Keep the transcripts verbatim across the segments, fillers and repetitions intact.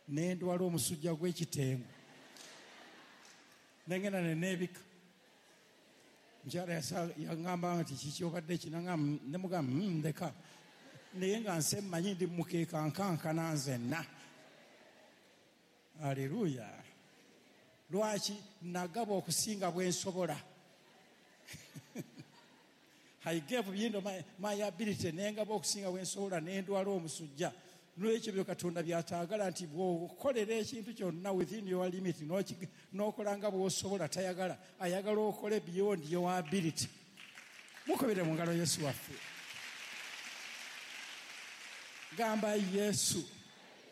Nendwala omusujja gw'ekitengo, nengenda neneebika. Mukyala yaŋŋamba nti kiki obadde ki, nemugamba ndeka, naye nga nse mmanyi ndi mukeeka nkankana nzenna. Aleluya. Lwaki? Nagaba okusinga bwe nsobola. I gave beyond my, my ability, nengaba okusinga bwe nsobola, nendwala omusujja. N'olwekyo byo Katonda by'ataagala nti bw'okolera ekintu kyonna within your limit, n'okola nga bw'osobola, tayagala. Ayagala okole beyond your ability. Mukubire mu ngalo Yesu waffe. Gamba Yesu,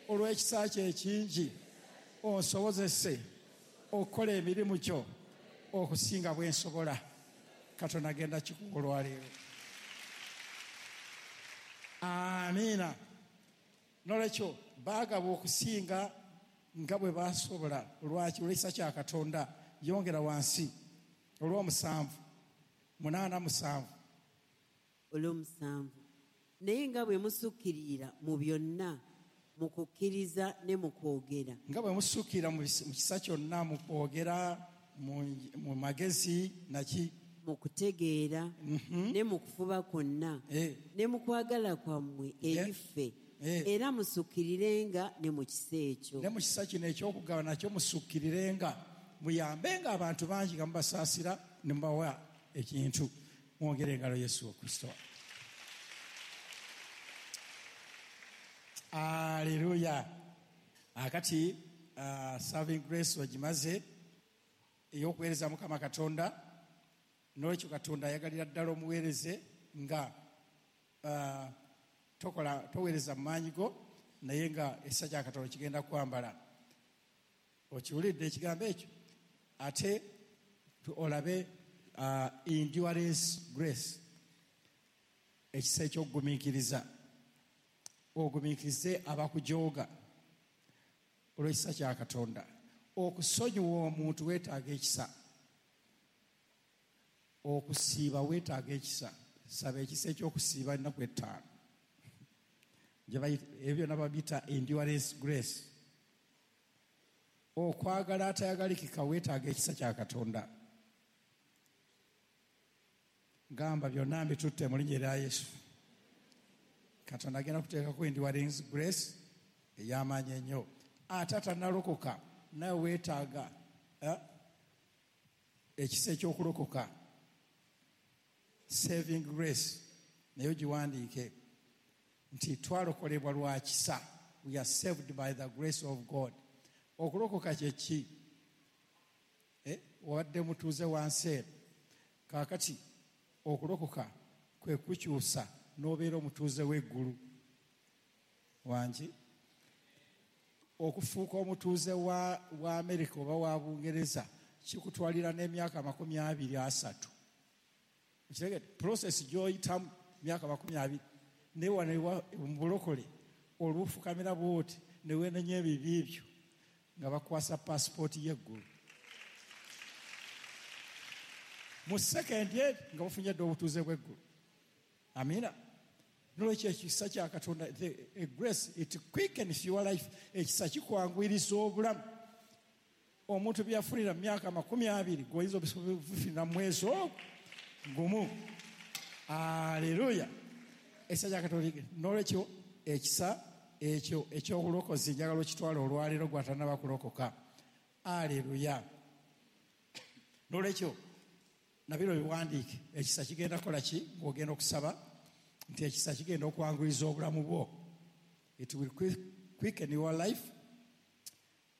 olw'ekisa kye ekingi onsobozese okukola emirimu gyo okusinga bwe nsobola. Katonda agenda kikuwa olwaleero. Amiina. N'olwekyo baagaba okusinga nga bwe basobola. Lwaki? Olw'ekisa kya Katonda. Yongera wansi olw'omusanvu munaana musanvu. Olw'omusanvu, naye nga bwe musukkirira mu byonna mu kukkiriza ne mu kwogera. Nga bwe musukkirira mu kisa kyonna, mu kwogera, mu magezi, naki, mu kutegeera, ne mu kufuba kwonna, ne mu kwagala kwammwe eri ffe, era musukkirirenga ne mu kisa ekyo. Ne mu kisa kino eky'okugaba nakyo musukkirirenga, muyambenga abantu bangi nga mubasaasira ne mubawa ekintu. Mwongere engalo Yesu Kristo. Aleluya. Akati uh, serving grace ogimaze ey'okuweereza Mukama Katonda. N'olwekyo Katonda ayagalira ddala omuweereze nga uh, tokola toweereza mu maanyi go, naye nga ekisa kya Katonda kigenda kwambala. Okiwulidde ekigambo ekyo? Ate olabe uh, endurance grace, ekisa eky'okugumiikiriza. Ogumiikirize abakujooga olw'ekisa kya Katonda. Okusonyiwa omuntu weetaaga ekisa. Okusiiba weetaaga ekisa. Saba ekisa eky'okusiiba ennaku ettaano. Ebyo byonna babiyita endurance grace. Okwagala atayagalikika weetaaga ekisa kya Katonda. Gamba byonna mbitutte mu linnya erya Yesu. Katonda agenda kuteekako endurance grace ey'amaanyi ennyo. Ate atannalokoka nawe weetaaga ekisa eky'okulokoka, saving grace, naye ogiwandiike nti twalokolebwa lwa kisa. We are saved by the grace of God. Okulokoka kye ki? Eh, wadde mutuuze wansi eno. Kaakati okulokoka kwe kukyusa n'obeera omutuuze w'eggulu. Wangi? Okufuuka omutuuze wa, wa Amerika oba wa Bungereza kikutwalira n'emyaka makumi abiri asatu. Okitegedde? Process gy'oyitamu myaka makumi abiri. Naye wano mu bulokole olufukamira bw'oti ne weenenya ebibi byo nga bakwasa paasipooti y'eggulu. Mu sekendi eri nga bafunye dda obutuuze bw'eggulu. Amiina. N'olwekyo ekisa kya Katonda, the grace, it quickens your life. Ekisa kikwanguyiriza obulamu. Omuntu byafunira mu myaka makumi abiri gw'oyinza obifunira mu mwezi ogwo gumu. Aleluya. Ekisa kya Katonda. N'olwekyo ekisa ekyo eky'obulokozi njagala okitwala olwaleero gw'atannaba kulokoka. Aleluya. N'olwekyo nabiro biwandiike. Ekisa kigenda kukola ki ng'ogenda okusaba? Nti ekisa kigenda okwanguyiza obulamu bwo. It will quicken your life.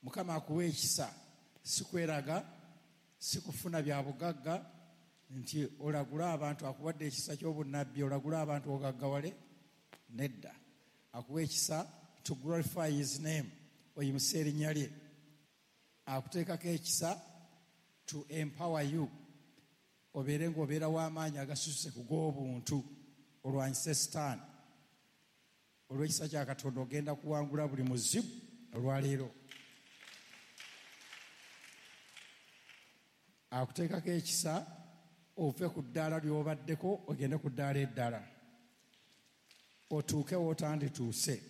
Mukama akuwa ekisa, si kweraga, si kufuna bya bugagga, nti olagula abantu. Akuwadde ekisa ky'obunnabbi, olagula abantu ogaggawale. Nedda. Akuwa ekisa to glorify his name, oyimuse erinnya lye. Akuteekako ekisa to empower you, obeere ng'obeera w'amaanyi agasuse ku g'obuntu, olwanyise Sitaani. Olw'ekisa kya Katonda ogenda kuwangula buli muzibu olwaleero. Akuteekako ekisa ove ku ddaala ly'obaddeko ogende ku ddaala eddala, otuuke w'otandituuse.